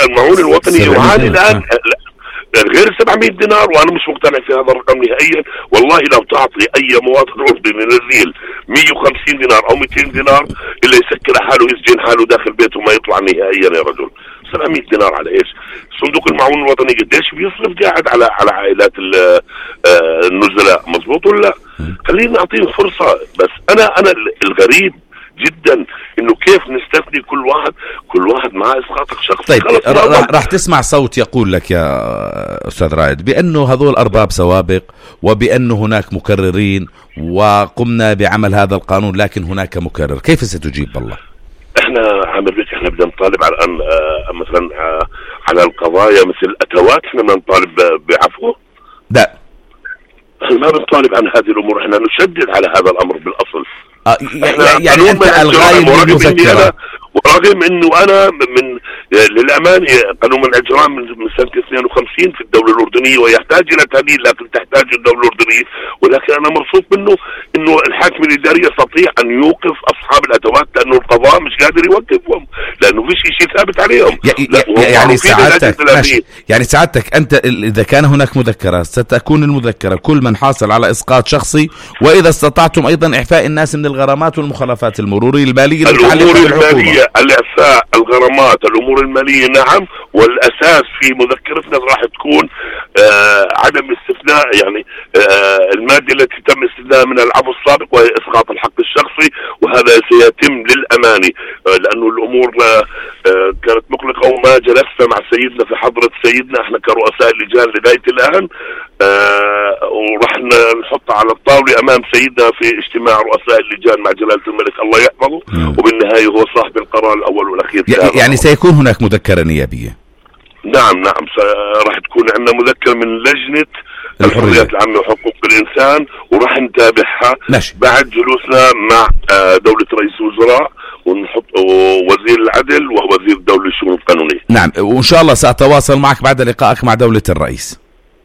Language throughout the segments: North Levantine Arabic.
المعون الوطني يعاني الآن غير 700 دينار، وانا مش مقتنع في هذا الرقم نهائيا. والله لو تعطي اي مواطن اردني نزيل 150 دينار او 200 دينار الا يسكر حاله، يسجن حاله داخل بيته وما يطلع نهائيا يا رجل. 700 دينار على ايش؟ صندوق المعون الوطني قديش بيصرف قاعد على عائلات النزلاء؟ مظبوط ولا لا؟ خلينا نعطيهم فرصة. بس انا الغريب جدا انه كيف نستثني كل واحد مع اسقاط شخصي. طيب راح تسمع صوت يقول لك يا استاذ رائد بانه هذول ارباب سوابق، وبانه هناك مكررين وقمنا بعمل هذا القانون لكن هناك مكرر. كيف ستجيب بالله؟ احنا عامل بيت، احنا بدنا نطالب على الان مثلا على القضايا مثل الاتوات، احنا بدنا نطالب بعفو؟ لا، ما بنطالب عن هذه الامور، احنا نشدد على هذا الامر بالاصل. يعني انت الغاية المذكرة، ورغم انه انا من للامانه قانون منع الاجرام من سنه 52 في الدوله الاردنيه ويحتاج الى تعديل، لكن تحتاج الدوله الاردنيه، ولكن انا مبسوط منه انه الحاكم الاداري يستطيع ان يوقف اصحاب الادوات لانه القضاء مش قادر يوقفهم لانه فيش شيء ثابت عليهم. يعني سعادتك انت اذا كان هناك مذكره ستكون المذكره كل من حاصل على اسقاط شخصي، واذا استطعتم ايضا اعفاء الناس من الغرامات والمخالفات المروريه الماليه الامور الماليه، الاعفاء، الغرامات، الامور الماليه، نعم. والاساس في مذكرتنا راح تكون عدم استثناء يعني الماده التي تم استثناءها من العفو السابق وهي اسقاط الحق الشخصي، وهذا سيتم للامانه لانه الامور كانت مقلقه وما جلسنا مع سيدنا في حضره سيدنا احنا كرؤساء اللجان لغايه الان، وراح نحطها على الطاوله امام سيدنا في اجتماع رؤساء اللجان مع جلاله الملك الله يحفظه، وبالنهايه هو صاحب القرار الاول والاخير. يعني سيكون هناك مذكره نيابيه؟ نعم راح تكون عندنا مذكره من لجنه الحريات العامه وحقوق الانسان، وراح نتابعها بعد جلوسنا مع دوله رئيس الوزراء، ونحط وزير العدل ووزير الدولة للشؤون القانونية. نعم، وإن شاء الله سأتواصل معك بعد لقائك مع دولة الرئيس.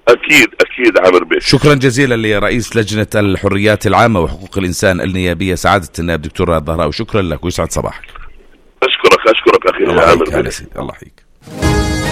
أكيد عامر بيه. شكرا جزيلا لرئيس لجنة الحريات العامة وحقوق الإنسان النيابية سعادة النائب دكتور رائد ضهراوي. شكرا لك ويسعد صباحك. أشكرك أخي عامر بيه. الله يحييك.